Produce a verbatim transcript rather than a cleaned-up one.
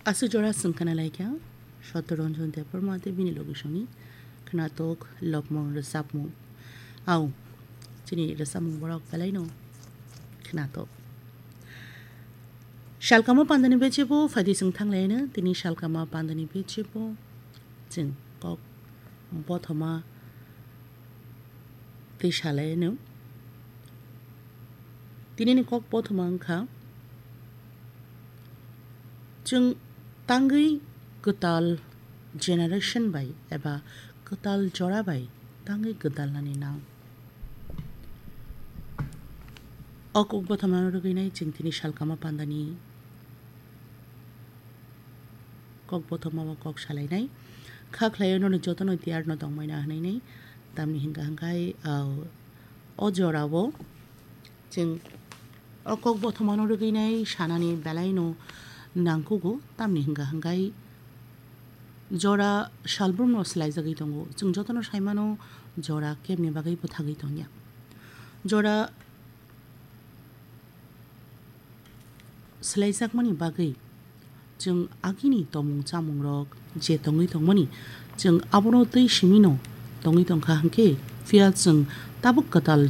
Aswk jora chwng khna lai kha Satya Ranjan Debbarma tei bini logisongni khnatok lobmung rwchapmung. Au, chini rwchapmung borok belaino khnatok. Salkama pandani bechebo phaidi chwng thanglaino, tini salkama pandani bechebo chwng kok bothoma tei salaino. Tinini kok bothoma wngkha, chwng tangwi kwtal generation bai eba kwtal jora bai tangwi gwdalnani nang. O kok bothomano rwgwinai chwng tini salkama pandani kok bothomao kok salainai. Kha khlaio nono jotono tiyarno tongmaina hwnainai. Tamni hwnkha hwnkhe, ah, o jorao chwng o kok bothomano rwgwinai sanani belaino nangkugo. Tamni hwnkha hwnkhe jora salbrumno swlaijagwi tongo. Chwng jotono saimano jora kebni bagwi bwthagwi tongya. Jora swlaijakmani bagwi chwng agini tomung chamungrok je tongwi tongmani, chwng abono twi simino tongwi tongkha hwnkhe, phiya chwng tabuk kwtal